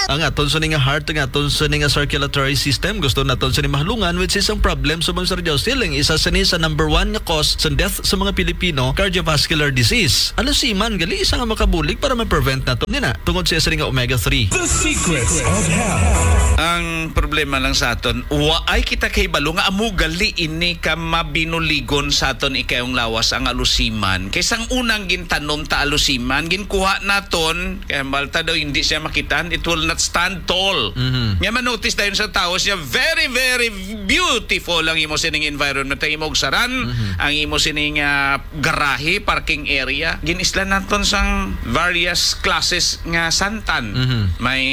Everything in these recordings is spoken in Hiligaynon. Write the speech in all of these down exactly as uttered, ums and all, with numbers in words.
ang aton sini nga heart, ang aton sini nga circulatory system. Gusto naton sini mahalungan, which is ang problem sa mga, Sir Josil, ang isa sini sa number one nga cause sa death sa mga Pilipino, cardiovascular disease. Alusiman gali isa nga makabulig para ma-prevent nato nina tungod siya sini nga omega three. The Secrets of Health. Ang problema lang sa aton, wa ay kita kahibalo nga amo gali ini ka mabinuligon sa aton ikayong lawas, ang alusiman. Kay sang unang gintanom ta alusiman, ginkuha naton, kay hambal ta daw hindi siya makitaan, it will not stand tall. Mhm. Nga manotice dayon sa tao siya, very, very beautiful ang imo sining environment, ang imo saran, Mhm. ang imo sining, ah, garahe, parking area. Ginislan naton sang various classes nga santan. Mhm. May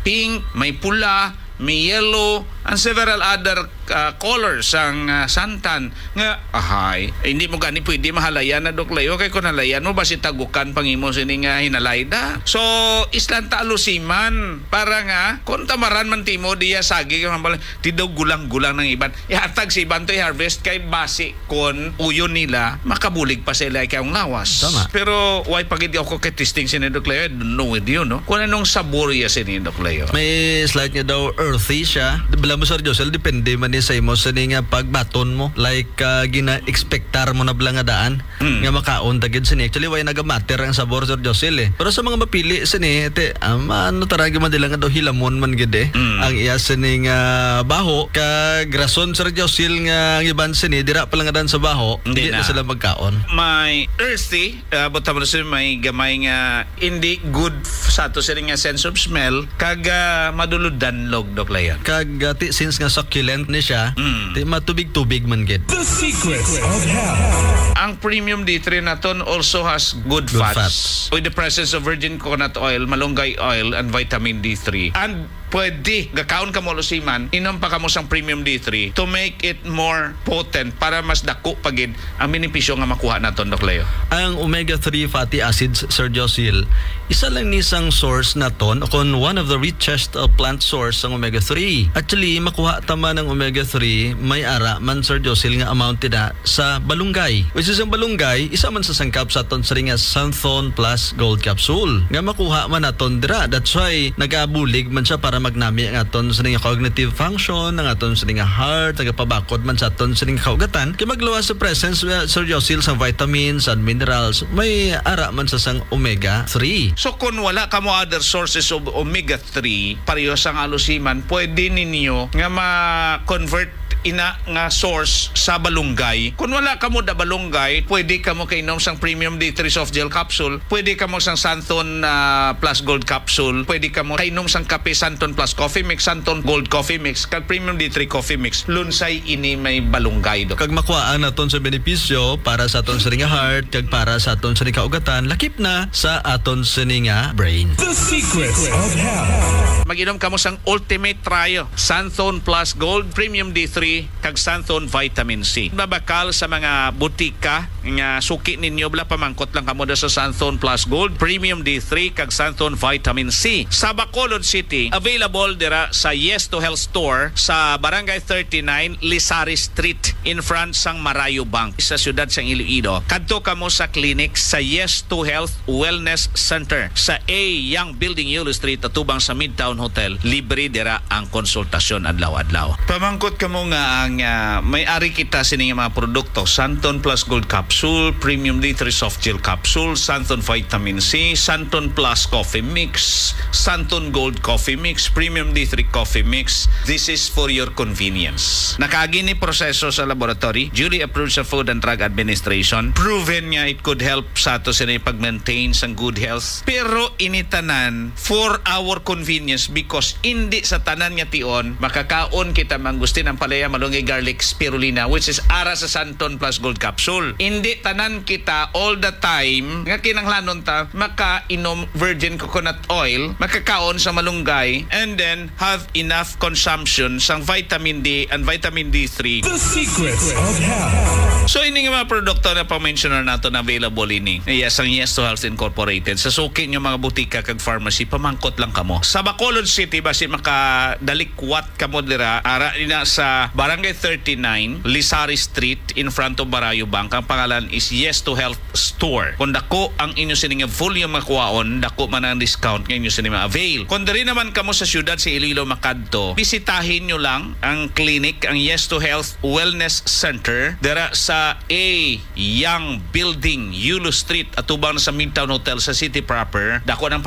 pink, may pula, may yellow, and several other, ah, colors sang, ah, santan. Nga, ahay, hindi mo gani pwede mahalayan na, Doc Leo, kay kung halayan mo, basi tagukan pang imo sini nga hinalayda. So, islan ta alusiman para nga, kung tamaran man timo, diya sagi, kay hambal, ti daw gulang-gulang ng iban. Ihatag sa iban to i-harvest kay basi kon uyon nila, makabulig pa sila ikaw lawas. Tama. Pero why pa gid ako kay testing sini, Doc Leo? I don't know with you, no? Kung anong sabor iya sini, Doc Leo. May slight nga daw earthy siya. Di bala mo, Sir Josel, depende man ni sa imo sini nga pagbaton mo. Like, ah, gina-expectar mo na bala nga daan Mm. nga makaon ta gid sini. Actually, why nagamatter ang sabor, Sir Josel, eh? Pero sa mga mapili sini, te, um, ano tara gyud man nila nga daw hilamon man gid, eh. Mm. Ang iya sini nga baho, kag rason, Sir Josil, nga ang iban sini dira pa lang dan sa baho, Hindi hindi na na. sila magkaon. May earthy, ah, buta mo na sila, may gamay nga hindi good f-, sa ato sila nga sense of smell, kag, ah, madulod danlog, Doc Leon. Kag, ah, ti, since nga succulent ni siya, Mm. ti, matubig-tubig man gid. The Secrets of Health. Ang premium D three naton also has good Good fats. fats. With the presence of virgin coconut oil, malunggay oil, and vitamin D three. And pwede, gakaon ka mo alusiman, inom pa kamo sang premium D three to make it more potent para mas dako pa gid ang benepisyo nga makuha naton, Doc Leo. Ang omega three fatty acids, Sir Josil, isa lang ni sang source naton, o kon one of the richest, uh, plant source sang omega three. Actually, makuha ta man ang omega three, may ara man, Sir Josil, nga amount dida sa balunggay. Which is ang balunggay, isa man sa sangkap sa aton sini nga Santhon Plus Gold Capsule nga makuha man naton dira. That's why nagabulig man siya para magnami ang aton sini nga cognitive function, ang aton sini nga heart, nagapabakod man sa aton sini nga kaugatan. Kay magluwas sa presence, uh, Sir Josil, sa vitamins and minerals, may ara man sa sang omega three. So, kung wala kamo other sources of omega three, pareho sang alusiman, pwede ninyo nga ma-convert ina nga source sa balunggay. Kung wala kamo da balunggay, pwede kamo kainom sang Premium D three Soft Gel Capsule, pwede kamo sang Santhon, ah, Plus Gold Capsule, pwede kamo kainom sang kape Santhon Plus Coffee Mix, Santhon Gold Coffee Mix, kag Premium D three Coffee Mix. Lunsay ini may balunggay, Dok. Kag makuhaan naton sa benepisyo para sa aton sining nga heart, kag para sa aton sining kaugatan, lakip na sa aton sining nga brain. The Secrets of Health. Mag-inom kamo sang Ultimate Trio, Santhon Plus Gold, Premium D three, kag Santhon Vitamin C. Mabakal sa mga butika nga suki ninyo, bala, pamangkot lang kamo da sa Santhon Plus Gold, Premium D three, kag Santhon Vitamin C. Sa Bacolod City, available dira sa Yes to Health Store sa Barangay thirty-nine, Lisari Street, in front sang Marayo Bank, sa siyudad sang Iloilo. Kadto kamo sa clinic sa Yes to Health Wellness Center sa A Young Building, Yulo Street, atubang sa Midtown Hotel. Libre dira ang konsultasyon adlaw-adlaw. Pamangkot kamo nga ang, ah, may ari kita sini nga mga produkto, Santon Plus Gold Capsule, Premium D three Soft Gel Capsule, Santon Vitamin C, Santon Plus Coffee Mix, Santon Gold Coffee Mix, Premium D three Coffee Mix. This is for your convenience. Nakaagi ni proseso sa laboratory, duly approved sa Food and Drug Administration, proven nga it could help sa ato sini pag-maintain sang good health. Pero ini tanan for our convenience, because indi sa tanan nga tion makakaon kita mangustin, ampalaya, malunggay, garlic, spirulina, which is ara sa Santon Plus Gold Capsule. Indi tanan kita all the time nga kinahanglanon ta makainom virgin coconut oil, makakaon sa malunggay, and then have enough consumption sang vitamin D and vitamin D three. The Secrets of Health. So, ini nga mga produkto na pang-mensionar nato na available ini. Yes, ang Yes to Health Incorporated. Sa suki niyo mga butika kag pharmacy, pamangkot lang kamo. Sa Bacolod City, basi makadalikwat kamo dira, ara ina sa Barangay thirty-nine, Lisari Street, in front of Barayo Bank. Ang pangalan is Yes to Health Store. Kung dako ang inyo sining volume nga kuwaon, dako man ang discount nga inyo sini ma-avail. Kung diri naman kamo sa siyudad sa Iloilo makadto, bisitahin nyo lang ang clinic, ang Yes to Health Wellness Center, dira sa A Young Building, Yulo Street, atubang sa Midtown Hotel sa city proper. Dako ng